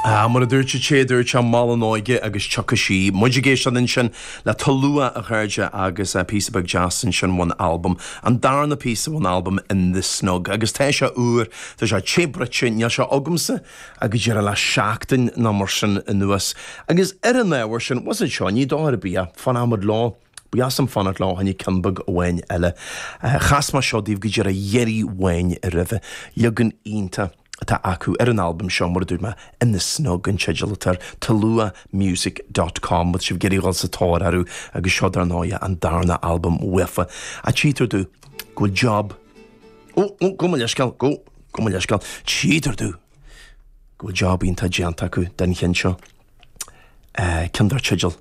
Ah, mar a dúirt an té a dúirt sé, mol an óige agus tiocfaidh sí. Muid ag éisteacht ansin le Tulua, a chairde, agus píosa beag deas ansin ón albam, an darna píosa ón albam In The Snug. Agus tá sé úr, tá sé te bruite, níl sé agamsa ach go díreach le seachtain nó mar sin anuas. Agus ar an ábhar sin, what's it seo, ní dochar ar bith é, fanfaidh muid leo. Ba dheas liom fanacht leo fá choinne ceann beag amháin eile. Chas mé seo daoibh go díreach iarraidh amháin roimhe. Leagan iontach atá acu ar an albam seo, mar a dúirt mé, In The Snug an teideal atá air, toluamusic dot com, má tá sibh ag iarraidh dhul sa tóir orthu agus seo dar ndóigh an darna albam uafa. Ach tchítear domh go bhfuil job, ó, ó, gabh mo leithscéal, gabh, gabh mo leithscéal, tchítear domh go bhfuil job iontach déanta acu den cheann seo. Ceann dar teideal.